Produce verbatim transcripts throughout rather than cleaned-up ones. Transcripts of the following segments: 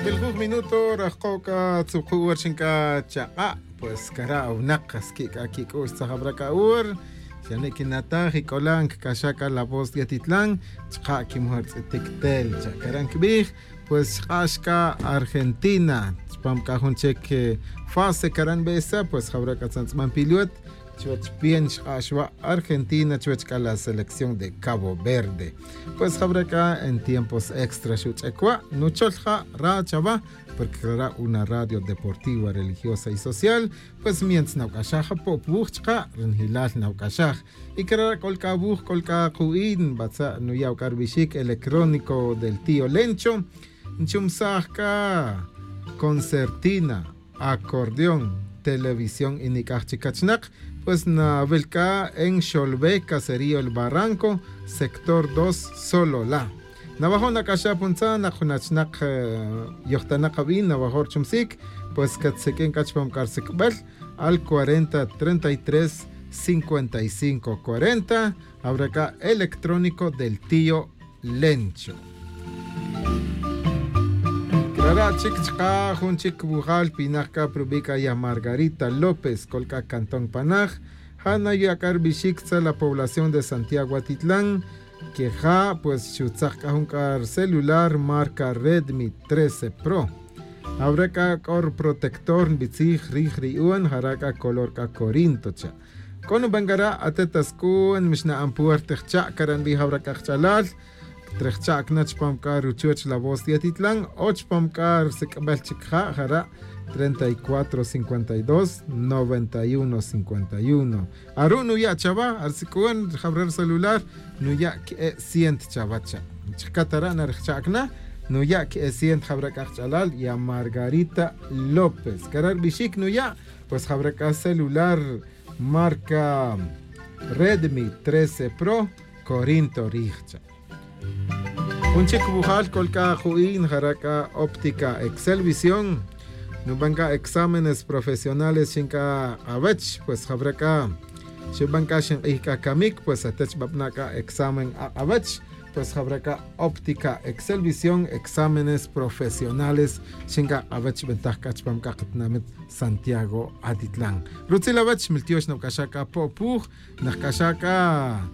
Iljuj minuto rajko' c'a tzupju' hor xin c'a chak'a'. Pues cara' winak squi' c'a quic'u'x tzajabra c'a hor xane' quinataj y c'olan cc'axaj c'a la voz de atitlan. Chka' quimujor tz'itic tel cha' cara' nquibij. Pues xk'ax c'a argentina chpam c'a jun chic fase cara' nbesa pues jawra c'a tzantz'ban pilot. Chuwech bien xk'ax wa' argentina chuwech c'a la selección de cabo verde. Pues jawra c'a en tiempos extra xuch'ec wa' nuchol ja' ra chawa. Porque cara' una radio deportiva religiosa y social. Pues mientras nawc'axaj apo' puwuj chka' ri njilal nawc'axaj. Y cara' c'ol c'a wuj c'ol c'a ku'in batza' nuya' c'a rubixic electrónico del tío lencho. Nchumsaj c'a concertina, acordeón, televisión y nic'aj chic cachnak. Pues nawil c'a en xolbe caserío el barranco, sector dos, solola. Nawajo' nac'axaj puntzan nak jun achnak yojtanak abin nawajo' richumsic. Pues catseq'uin c'a chupam c'a risic'bel al cuarenta treinta y tres cincuenta y cinco cuarenta. Awra c'a electrónico del tío lencho. Crara' chic chka' jun chic wujal pinak c'a pa rubi' c'a ya margarita lópez c'ol c'a cantón panaj. Ja' naya' c'a rubixic tzal la población de santiago atitlan. Queja' pues xutzak c'a jun c'a rucelular marca redmi trece pro. Awra c'a c'o ruprotector nbitzij rij ri i'on jara' c'a color c'a corinto cha'. C'o nuban c'a ra' atet asc'u'n mixna'an puerta jcha' cara' nbij awra c'a jch'alal. Trejcha'c na chupam c'a ruchuch la voz de atitlan o chupam c'a risic'bel chic ja' jara' treinta y cuatro cincuenta y dos noventa y uno cincuenta y uno. Aru' nuya' chawa arisic'un jawra rucelular. Nuya' que'e' ciento chawa cha'. Chijcat ara' narijcha'c na nuya' que'e' ciento jawra c'a jch'alal ya margarita lópez cara' rubixic nuya'. Pues jawra c'a celular marca redmi trece pro corinto rij cha'. Jun chic wujal c'ol c'a ju'in jara' c'a óptica excelvisión. Nuban c'a exámenes profesionales xin c'a k'awech pues jawra c'a xuban c'a xink'ij c'a camic pues atech babana' c'a examen ak'awech. Pues jawra c'a óptica excelvisión exámenes profesionales xin c'a k'awech xbentaj c'a chupam c'a katinamit santiago atitlan. Rutzil awech miltiox nawc'axaj c'a po' puj. Najc'axaj c'a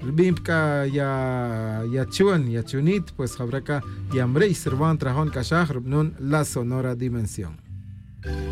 rubin pa c'a ya chun ya chunit pues jawra c'a ya mri'y sirwan trajon c'axaj rubnun la sonora dimensión.